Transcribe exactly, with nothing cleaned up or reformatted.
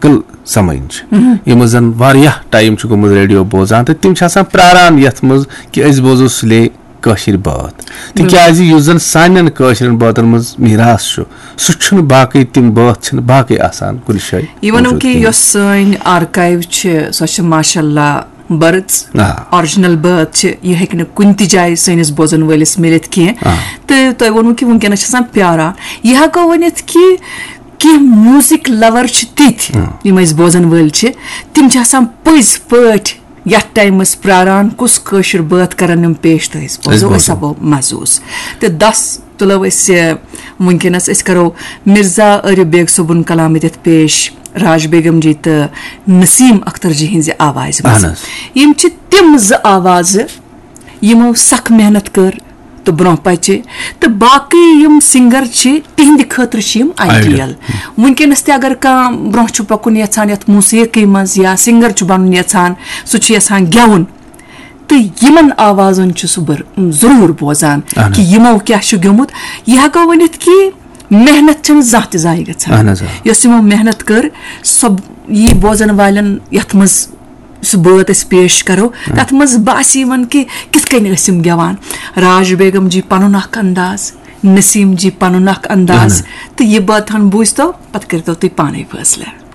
کل سمجھ، یِم زن واریاہ ٹایم چھُ گوٚمُت ریڈیو بوزان، تہٕ تِم چھِ آسان پراران یتھ منٛز کہِ أسۍ بوزو سُلے کٲشِر بٲتھ، تِکیازِ یُس زن سانٮ۪ن کٲشرٮ۪ن بٲتن منٛز میراث چھُ، سُہ چھُنہٕ باقٕے، تِم بٲتھ چھِنہٕ باقٕے آسان کُنہِ جایہِ۔ یہِ ونو موجود کہِ کِہیٖنۍ۔ یۄس سٲنۍ آرکایو چھِ، سۄ چھِ ماشاء اللہ بٔرٕژ، آ۔ آرجنل بٲتھ چھِ، یہِ ہیٚکہِ نہٕ کُنہِ تہِ جایہِ سٲنِس بوزن وٲلِس مِلِتھ کینٛہہ۔ آ۔ تہٕ تۄہہِ ووٚنوُ کہِ وٕنکیٚنس چھِ آسان پیاران۔ یہِ ہٮ۪کو ؤنِتھ کہِ کینٛہہ میوٗزک لور چھِ تِتھۍ، یِم أسۍ بوزن وٲلۍ چھِ، تِم چھِ آسان پٔزۍ پٲٹھۍ یتھ ٹایمس پراران، کُس کٲشُر بٲتھ کرن یِم پیش، تہٕ أسۍ بوزو، بوزو۔ أسۍ ہٮ۪کو محسوٗس۔ تہٕ دس تُلو أسۍ، ٲ، وٕنکیٚنس أسۍ کرو مرزا عارف بیگ صٲبُن کلام ییٚتٮ۪تھ پیش راج بیگم جی تہٕ نسیم اختر جی ہٕنٛزِ آوازِ منٛز۔ اہن حظ۔ یِم چھِ تِم زٕ آوازٕ یِمو سخ محنت کٔر تہٕ برونٛہہ پچہِ، تہٕ باقٕے یِم سنگر چھِ، تِہنٛدِ خٲطرٕ چھِ یِم آیڈیل۔ وٕنکیٚنس تہِ اگر کانٛہہ برونٛہہ چھُ پکُن یژھان یتھ موسیقی منٛز یا سنگر چھُ بنُن یژھان، سُہ چھُ یژھان گٮ۪وُن، تہٕ یِمن آوازن چھُ سُہ بر-، ضروٗر بوزان کہِ یِمو کیٛاہ چھُ گیومُت۔ یہِ ہٮ۪کو ؤنِتھ کہِ محنت چھنہٕ زانٛہہ تہِ ضایع گژھان۔ اہن حظ، آ۔ یۄس یِمو محنت کٔر، سۄ یی بوزن والٮ۪ن یتھ منٛز سُہ بٲتھ أسۍ پیش کرو، تتھ منٛز باسہِ یِمن کہِ کِتھ کٔنۍ ٲسۍ یِم گٮ۪وان۔ راج بیگم جی پنُن اکھ انداز، نسیم جی پنُن اکھ انداز، تہٕ یہِ بٲتھ ہن بوٗزتو، پتہٕ کٔرتو تُہۍ پانے فٲصلہٕ۔